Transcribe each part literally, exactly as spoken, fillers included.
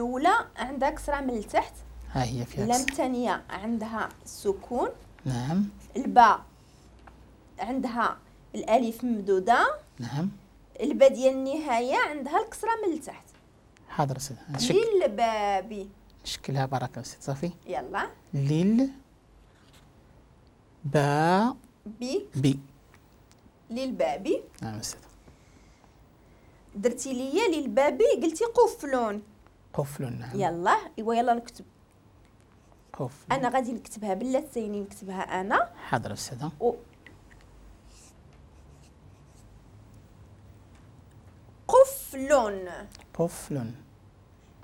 الاولى عندها كسره من التحت، ها هي فيها. اللام الثانية عندها سكون. نعم. الباء عندها الالف ممدوده. نعم. الباء ديال النهاية عندها الكسرة من التحت. حاضر أستاذ. للباب. نشكلها بركة أستاذ. صافي. يلا. لل با بي بي. للباب. نعم أستاذ. درتي ليا للباب قلتي قفل. قفل. نعم. يلا ايوا يلا نكتب قفل. انا غادي نكتبها باللاتيني، نكتبها انا. حاضر أستاذ. و... قفل. قفل.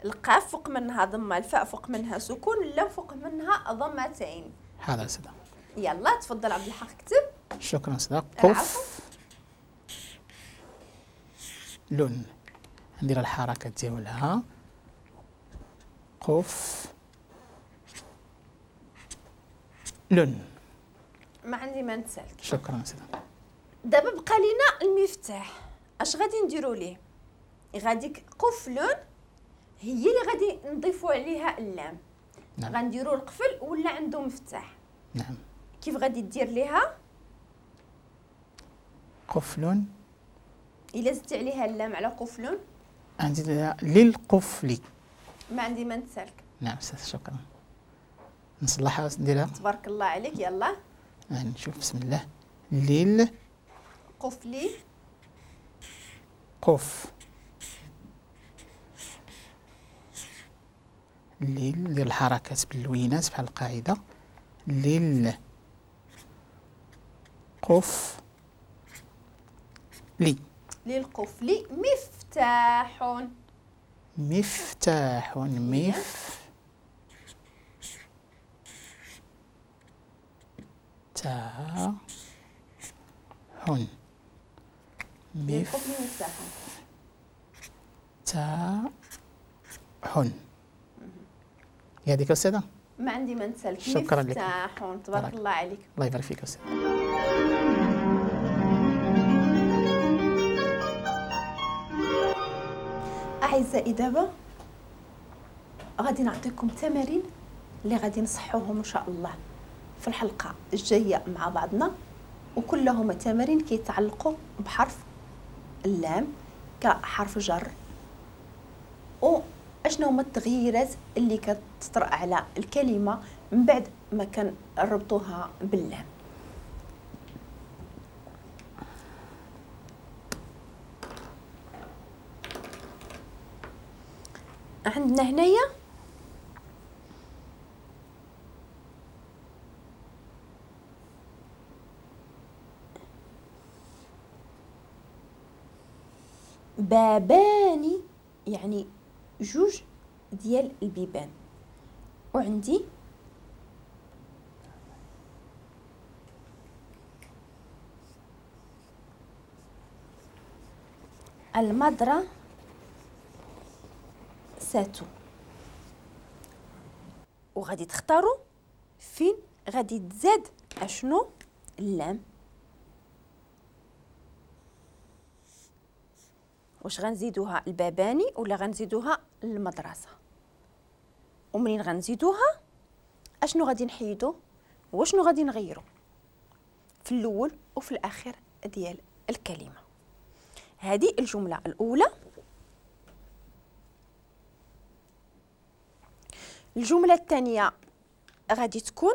القاف فوق منها ضمه، الفاء فوق منها سكون، اللام فوق منها ضمتين. حاضر أستاذ. يلا تفضل عبد الحق كتب. شكرا أستاذ. قف لون. ندير الحركة ديالها. قف لون. ما عندي ما نتسالك. شكرا أستاذ. دابا بقى لينا المفتاح، اش غادي نديرو ليه؟ غادي قفل هي اللي غادي نضيفو عليها اللام. نعم. غنديرو القفل ولا عنده مفتاح. نعم. كيف غادي دير ليها؟ قفل. الا زدتي عليها اللام على قفل عندي للقفل. ما عندي ما نتسالك. نعم أستاذ شكرا. نصلحها نديرها. تبارك الله عليك. يلا نشوف. بسم الله. لل قفلي قف لل. ندير الحركات باللوينات بحال القاعدة. لل قف لي. للقفل مفتاح. مفتاح. مف تا هن. للقفل مفتاح. تا هن. هذيك أستاذة؟ ما عندي ما نتسالك. شكرا لك. مفتاح. تبارك الله عليك. الله يبارك فيك أستاذة. أعزائي دابا غادي نعطيكم تمارين اللي غادي نصحوهم إن شاء الله في الحلقة الجاية مع بعضنا، وكلهم تمارين كيتعلقوا بحرف اللام كحرف جر، واشنو هما التغييرات اللي كتطرأ على الكلمة من بعد ما كنربطوها باللام. عندنا هنايا بابان، يعني جوج ديال البيبان، وعندي المدرسة. وغادي تختاروا فين غادي تزاد اشنو اللام. واش غنزيدوها الباباني ولا غنزيدوها المدرسة؟ ومنين غنزيدوها اشنو غادي نحيدو واشنو غادي نغيرو في الاول وفي الاخير ديال الكلمة. هذه الجملة الاولى. الجملة الثانية غادي تكون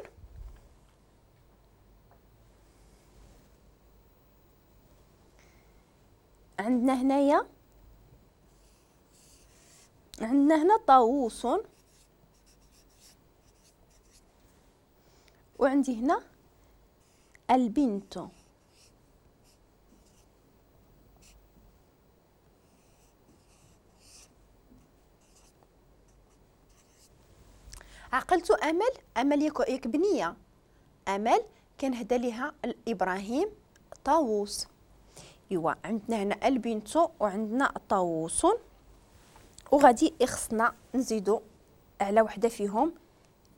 عندنا هنايا عندنا هنا طاووس، وعندي هنا البنت. عقلتو امل؟ امل ياك بنيه، امل كان هدا ليها الابراهيم طاووس. ايوا عندنا هنا البنت وعندنا طاووس، وغادي يخصنا نزيدو على وحده فيهم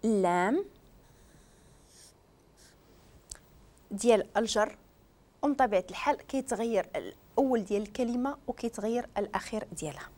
اللام ديال الجر، ومن طبيعة الحال كيتغير الاول ديال الكلمة وكيتغير الاخير ديالها.